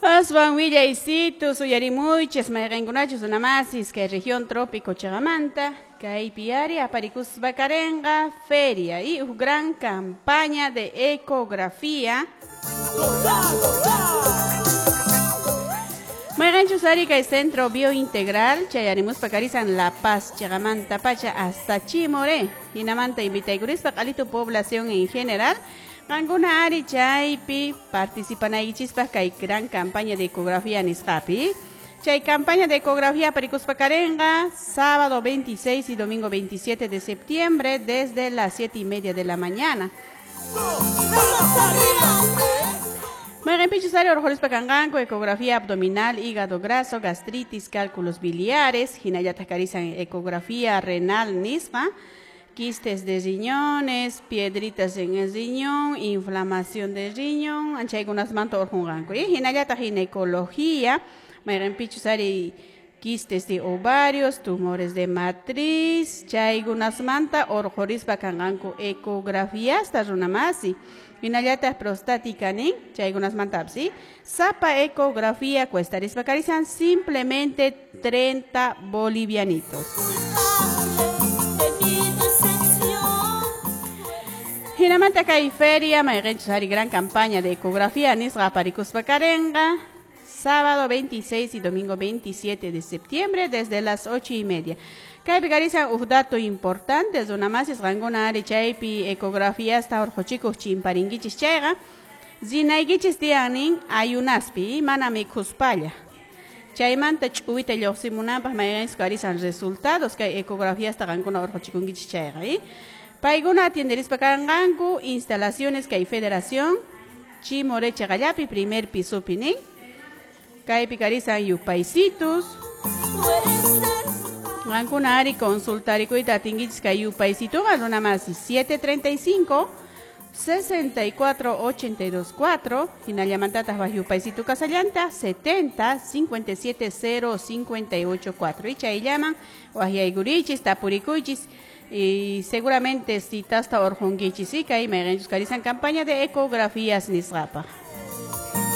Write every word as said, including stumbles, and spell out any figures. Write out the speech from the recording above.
Aswan willaysitus uyarimuychis mayqinkunachus runamasis kay región trópico chiqamanta kaypi ari aparikuspa karenqa feria y huk gran campaña de ecografía. Mayqinchus ari kay centro biointegral chayarimuspa karisan La Paz chiqamanta pacha hasta Chimoré hinamanta invitaykurispa q'alitu población en general. Qankuna ari chaypi participanaykichispaq kay gran campaña de ecografía nisqapi. Chay campaña de ecografía aparikuspa karenqa sábado veintiséis y domingo veintisiete de septiembre desde las siete y media de la mañana. Mayqinpichus ari urqurispa kanqanku ecografía abdominal, hígado graso, gastritis, cálculos biliares, hinallataq karisan ecografía renal nisqa, quistes de riñones, piedritas en el riñón, inflamación de riñón, anchaykunasmanta urqunqanku. Y hinallataq ginecología, mayqinpichus ari quistes de ovarios, tumores de matriz, chaykunasmanta urqurispa kanqanku ecografiasta runamasi. Hinallataq prostática nin, chaykunasmanta ¿sí? Sapa ecografía cuestarispa karisan simplemente treinta bolivianitos. Hinamanta kay feria, mayqinchus ari gran campaña de ecografía nisqa aparikuspa karenqa sábado veintiséis y domingo veintisiete de septiembre desde las ocho y media. Kaypi karisan huk dato importante, runamasis qankuna ari chaypi ecografíasta urquchikuq chimparinkichis chayqa rinaykichis tiyan ayunaspi mana mikhuspalla. Chaymanta ch'uwita lluqsimunanpaq mayqinchus karisan resultados kay ecografíasta qankuna urquchikunkichis chayqa. Paykuna atienderispa kanqanku instalaciones kay federación Chimoré chiqallapi primer pisopi nin. Kaypi karisan yupaysitus. Qankuna ari consultarikuyta atinkichis kay yupaysituqa runamasi siete treinta y cinco, sesenta y cuatro, ochenta y dos, cuatro, hinallamantataq waq yupaysitu kasallanta setenta, cincuenta y siete, cero, cincuenta y ocho, cuatro. Y chayllaman waqyaykurichis tapurikuychis y seguramente citasta urqunkichis y kay mayqinchus karisan campaña de ecografías nisqapaq.